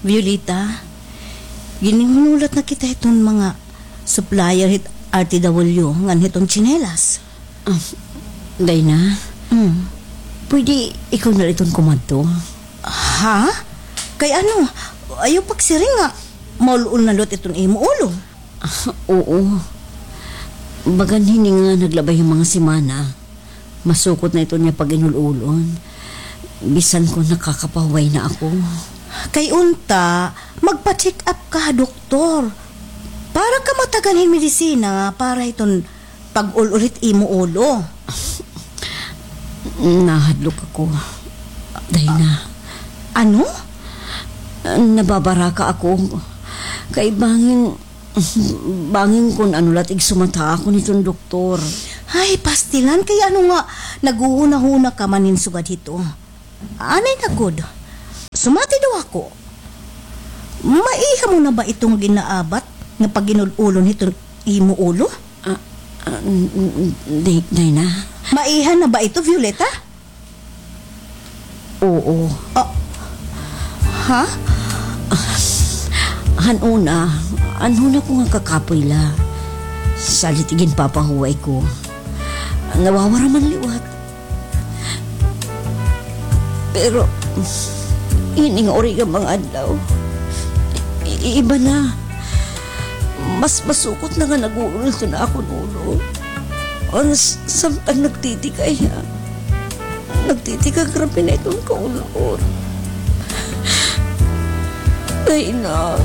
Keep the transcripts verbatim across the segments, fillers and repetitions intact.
Violeta, ginhinulat na kita hiton mga supplier hit R T W ngan hiton tsinelas. Ah, Dayna, Hmm. pwede ikaw na la iton kumadto? Ha? Kay ano? Ayaw pagsiring nga maul-ol na liwat iton imo ulo. Ah, oo. Bagan hini nga naglabay an mga semana, masukot na iton niya pag-inul-ulon. Bisan kon nakakapahuway na ako. Kay unta, magpa-check up ka ha doktor. Para ka matagan hin medisina para hiton pag-ul-ol hit imo ulo. Nahadlok ako, Dayna. Ano? Nababaraka ako. Kay bangin, bangin kon ano la it igsumata ha akon hiton doktor. Ay, pastilan, kay ano nga, naghuhunahuna ka man hin sugad hito. Anay na gud. Sumati daw ako. Maiha mo na ba ito nga ginaabat nga pag-inul-ulon hiton imo ulo? Ah, ah, n-, n-, n-, Day-, Dayna. Maiha na ba ito, Violeta? Oo. Ah, ha? Han una, an una ko nga kakapoy la. Salit iginpapahuway ko. Nawawara man liwat. Pero, ini nga uri nga mga adlaw, i-, iba na. Mas masukot na nga nag-uulol na akon ulo. Ang s-, samtang nagtitikay, ha? Nagtitikay, grabe na iton kaulon. Dayna.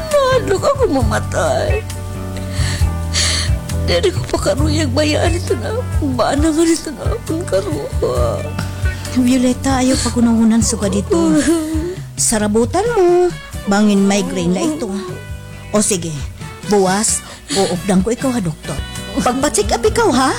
Nahadlok ako mamatay. Diri ko pa karuyag bayaan ito na. Bana nga nito na akon karuha. Violeta, ayaw paghunahunan sugad ito. Sarabutan mo. Bangin migraine la ito. O sige, buwas, uupdan ko ikaw ha doktor. Pagpa-check up ikaw, ha?